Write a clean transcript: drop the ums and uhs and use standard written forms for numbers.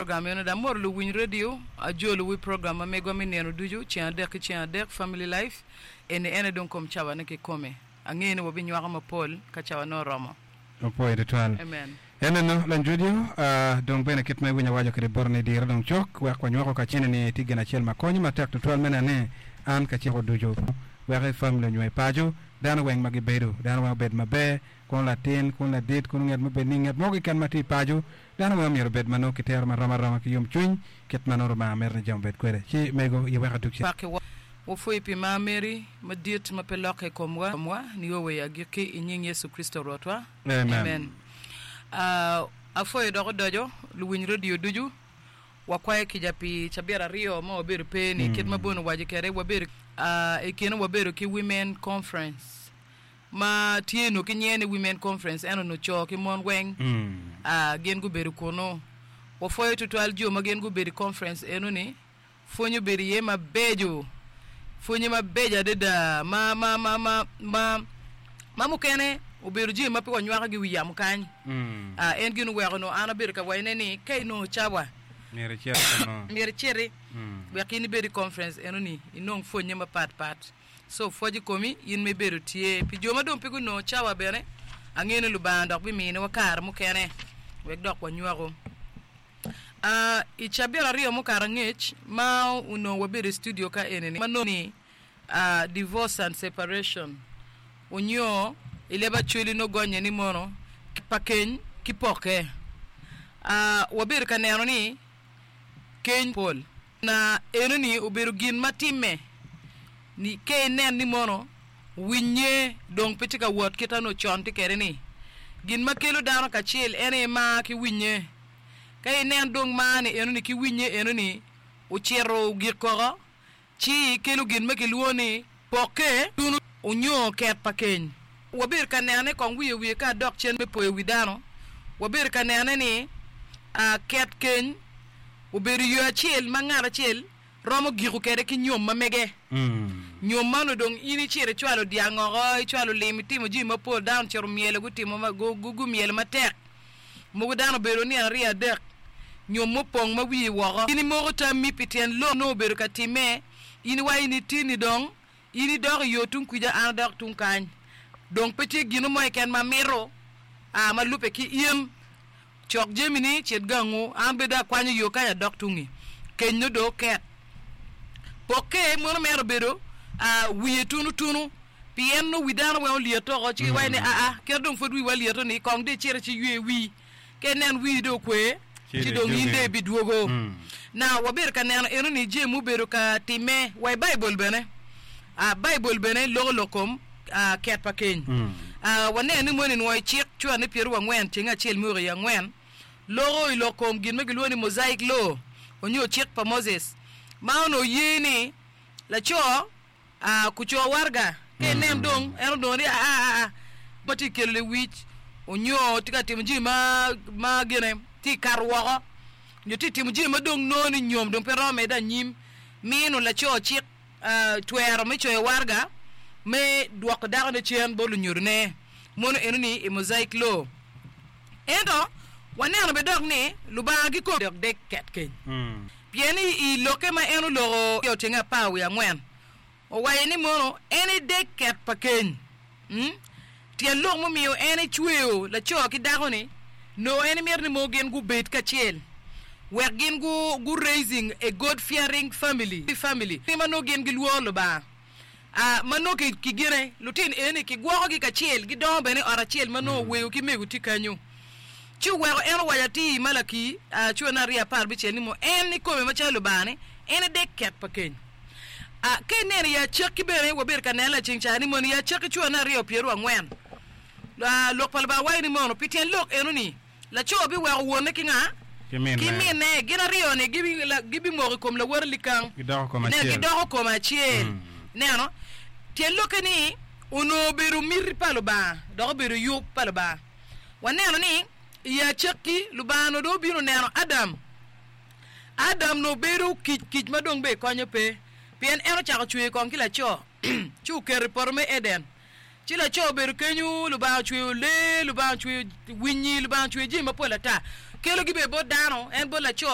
Program meno dong amoro luwiny radio, ajolo wi program ma megwa me nino ducu, ceng adek ki ceng adek, Family Life, eni ene dong kom cawane kikome. Angeyo ni wabinywako mapol ka cawane oromo. Opwoyo tutwal. Amen. En eno lony radio, dong bene kit ma iwinyo awaco kwede boti ni dire dong cok wek wanywako kacel ni tye gin acel ma konyo matek tutwal me neno ni an kacel ducu wek i family onyo i paco dano weng ma gibedo dano weng obed maber kono latin kono ladit kono nget me bed ni nget mo keken ma tye i paco dano weng omyero obed ma nongo kitero marom aroma ki yomcwiny kit ma nongo Rubanga mito ni jami obed kwede ci mego ye wek adug cen. Pakiwa. Wapwoyi pi mar meri madit ma pe lokke i komwa nio wa i agikki, i nying Yecu Kricito Rwotwa. Amen. Apwoyo dok odoco luwiny redio ducu. Wakwayo kica pi cabit aryo ma wabedo pe ni kit ma Boni owaco kwede wabedo i kine wabedo ki Women Conference ma tye nongo ki nyinge ni Women Conference ento onongo co ki mon weng gin gubedo kunu. Wapwoyo tutwal jo ma gin gubedo i conference eno ni. Pwony obedo iye mabeco, pwonye mabeco adada ma ma ma ma ma ma mukene obedo jami ma pe wanywako i wi yamo kany. Ah, en gin oweko onongo an abedo ka wacone ni ka inongo cawa Myero icit kunu. myero iciti wek in ibed i conference enoni inong pwonye mapat pat. So pwoc i komi in ma ibedo tye. Pi jo ma dong pe gunongo cawa bene, angeyo ni Lubanga dok biminiwa kare mukene wek dok wanywaku. I cabit aryo mukato angec ma onongo wabedo i studio ka eni-ni ma nongo ni Divorce and Separation onyo i leb Acholi nongo gonye ni mono pa keny ki pokke. Wabedo ka neno ni keny pol na enoni obedo gin ma timme ni ka inen ni mono winye dong pe tye ka wot kit ma onongo con tye kwede ni gin ma kelo dano kacel en aye mar ki winye. Ka inen dong mar ni enoni ki winye enoni ocito ogik koko, ci kelo gin ma kilwongo ni pokke tunu onyo ket pa keny. Wabedo ka nenone kong wiye wiye ka adok cen me poyo wi dano, wabedo ka nenone ni ket keny obedo yo acel ma ngat acel romo giko kwede ki nyom ma mege. Nyom man odong in icito icwalo dyang oko, icwalo lim, itimo jami mapol, dano ocito myelo gutimo gumyelo matek. Mogo dano obedo nino aryo adek nyom mupong ma wiye woko. In imoko tammi pi tyen lok nongo obedo ka timme, in iwaco ni tinni dong in idok i yo tung kwija an adok tung kany. Dong pe tye gino mo keken ma amito a ma lubbe ki in. Cok jamini cit gangu, an bene dong akwanyo yo kany adok tungi. Keny nongo dong oket. Pokke mono mere obedo a wiye tunu tunu. Pien nongo wi dano weng olyetto oko, ci giwaco ni, Aa, kit dong pwod wiwa lyeto-ni, kong dong icit ci iywe wii. Ka inen wii dong okwe, ci dong in dong ibidwogo. Na, wabedo ka neno enoni jami mubedo ka timme wa i Baibul bene. A Baibul bene loko lok kom ket pa keny. A Waneno ni moni nwoyo cik cwane pyerowangwen tyeng acel me oko i angwen loko i lok kom gin ma gilwongo ni Mosaic Law onyo cik pa Moses ma onongo ye ni laco Aa, kuco waraga ka inen dong en odongo ni aa aa ma tye kelo lewic onyo tye ka timo jami ma ma gine tye kato woko nyo tye timo jami ma dong nongo ni nyom dong pe romo medde anyim mino laco cik twero me coyo waraga me dwoko dako ne cen bot lunyodone mono eno ni i mosaic law ento waneno bene dok ni Lubanga kikome dok dek ket keny. Pien i lokke ma en oloko i otyenge apar wiye angwen, owaco ni mono en edek ket pa keny. Tyen lok mumiyo en ecweyo laco ki dako-ni, nongo en mito ni mono gin gubed kacel wek gin gu raising a God fearing family, family ma nongo gin gilworo Lubanga. Ma nongo ki gine, lutino eni kigwokogi kacel, gidongo bene i ot acel ma nongo wego ki mego tye kenyo. Ci oweko en owaco atir i Malaki cura me aryo apar bicel ni mo en ikome macalo Lubanga-ni, en edek ket pa keny. Ka ineno i acakki bene, wabedo ka neno laceng ca ni mono i acakki cura me aryo pyerangwen, lok pa Lubanga waco ni mono pi tyen lok eno-ni, Laco biweko wonne ki nga? Ki minne. Ki minne. Gin aryo-ni gibimoko i kom lawote likang. Gidoko kom acel. Gidoko kom acel. Ineno? Tyen lokke ni onongo obedo miti pa Lubanga dok obedo yub pa Lubanga. Waneno ni i acakki Lubanga onongo dong obino neno Adam. Adam onongo obedo kic kic ma dong bene konye pe pien en ocako cweyo kong ki laco ci oketo i poto me Eden. Ci laco obedo kenyu, Lubanga ocweyo lee, Lubanga ocweyo winyi, Lubanga ocweyo jami mapol ata. Kelogi bene bot dano, en bot laco.